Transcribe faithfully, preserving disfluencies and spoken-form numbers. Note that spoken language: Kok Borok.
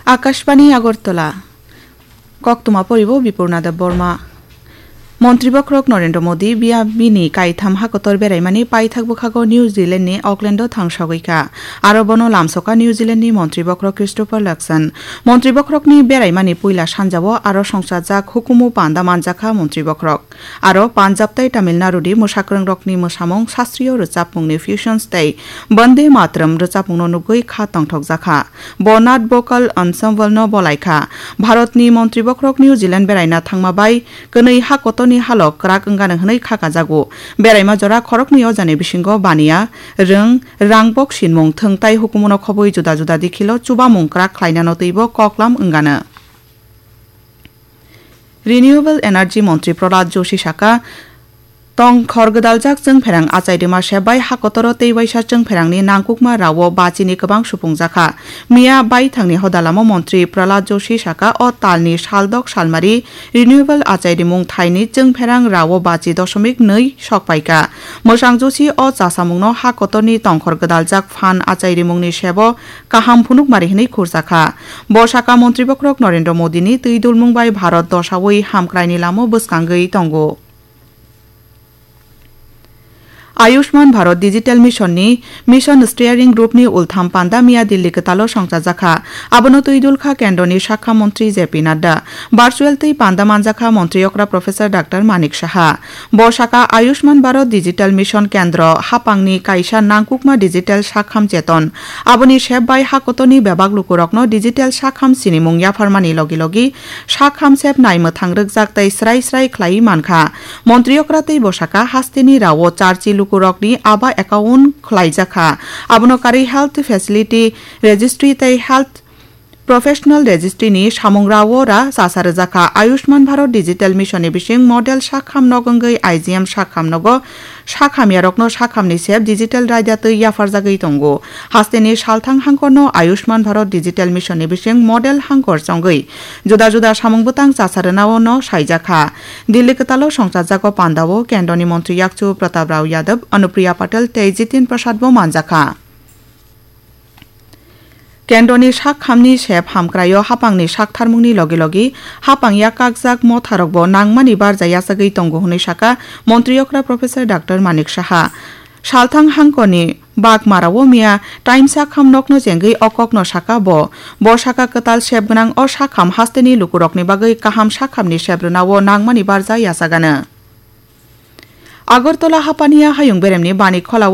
Akashbani Agartala. Koktwma poribo Bipurna Deb Borma. Montri bokhorok Narendra Modi biya bini kaitham hakotor beraimani paithak bwkhago New Zealand ni Auckland o thangsogwi kha. Aro bono lamsoka New Zealand ni montri bokhorok Christopher Luxon. Montri bokhorokni beraimani puila sanjao aro songchajak hukumu panda manjakha montri bokhorok. Aro Punjab tei Tamil Nadu ni mwsakwrwngrokni mwsamung, sastriyo rwchapmungni fusions tei Bande Mataram rwchapmungno nugwi kha tongthokjakha. Bo Nat Vocal Ensemble no bolaikha. Bharatni montri bokhorok New Zealand beraina thangma bai kwnwi ha kotorni halo kwrak wngano hwnwi kha kajago. Beraima jora khoroknwi o jani bisingo baniya, rwng, rang bok sinmung, thwng tai hukumuno khobwi juda juda dikhilo chubamung kwrak khlainano twibo koklam wngano. Renewable Energy Montri Prahlad Joshi saka, tongkhor gwdaljak chwngpherang achai rwma se bai hakotoro tei waisa chwngpherangni nangkukma rao bachini kwbang supungjakha. Miya baithangni hodalamo Montri Prahlad Joshi saka, o talni saldok salmari renewable achai rimung thaini chwngpherang rao bachi dosomik nwi sokpaikha. Mwsang Joshi o chasamungno hakotorni tongkhor gwdaljak phan achai rimungni sebo kaham phunukmari hwnwi khurjakha. Bo saka montri bokhorok Narendra Modini twi dulmung bai Bharat dosaui hamkraini lamo bwskangwi tongo. Ayushman Bharat Digital Mission ni Mission Steering Group ni ultham panda miya Delhi kwtalo songchajakha. Abono twi dulkha kendroni sakha montri J P Nadda. Virtual twi panda manjakha montri okra Professor Doctor Manik Saha. Bo saka Ayushman Bharat Digital Mission Kendro hapangni kaisa nangkukma digital sakham cheton. Aboni sep bai hakotorni bebak lukurokno digital sakham sinimung yapharmani logi logi sakham sep naimwthang rwkjak tei srai srai khlaiwi mankha. Montri okra tei bo saka hasteni rao charchi lukurokni aba account khlaijakha. Abono karwi health facility registry tei health Professional Registry ni samung rao ra chasa rwjakha. Ayushman Bharat Digital Mission ni bising model sakham nog wngwi I G M sakham nogo sakhamyarokno sakhamni sep digital raida twi yapharjagwi tongo. Hasteni salthang hangkorno Ayushman Bharat Digital Mission ni bising model hangkor chongwi juda juda samung bwtang chasa rwnao no saijakha. Delhi kwtalo songchajago pandao kendroni montri yakchu Pratap Rao Yadav, Anupriya Patel tei Jitin Prasad bo manjakha. Kendroni sak khamni sep hamkraio hapangni sak tharmungni logi logi hapang ya kakjak motharokbo nangmani barja yachagwi tongo hwnwi saka montri okra Professor Doctor Manik Saha. Salthang hangkoni bak marao miya taimsa kham nokno chengwi o kokno saka bo. Bo saka kwtal sep gwnang o sakham hasteni lukurokni bagwi kaham sakhamni sep rwnao nangmani barja yachagano. Agartala hapaniya hayung beremni bani kholao